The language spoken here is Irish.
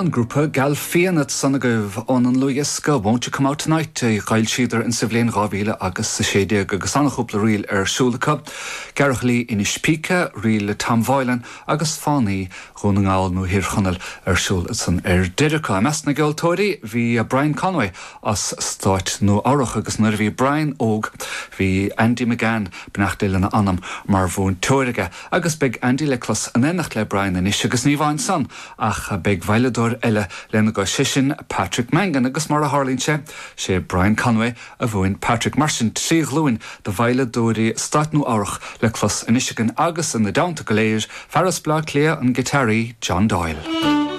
An grúpa Galfian ansan agaibh óna ndlúthdhiosca Won't You Come Out Tonight a d'fhoilsíodar insa bhliain 2000 agus 16 agus an-chúpla ríl ar siúl acu, Gearrchailí Inis Píce, ríl le Tom Boylan agus Fánaí Dhún na nGall nó Thír Chonaill ar siúl ansan ar deireadh acu. I measc na gceoltóirí bhí Brian Conway as Stáit Nua Eabhrach agus nuair a bhí Brian óg bhí Andy McGann, beannacht Dé lena anam, mar mhúinteoir aige agus beidh Andy le clos in éineacht le Brian anois agus ní amháin san Ach beidh veidhleadóir eile lena gcois, sé sin Patrick Mangan, agus mar a tharlaíonn sé, sé Brian Conway a mhúin Patrick. Mar sin, 3 ghlúin de veidhleadóirí Stáit Nua Eabhrach le clos anois againn agus ina dteannta go léir, fear as Baile Átha Cliath, an giotáraí John Doyle.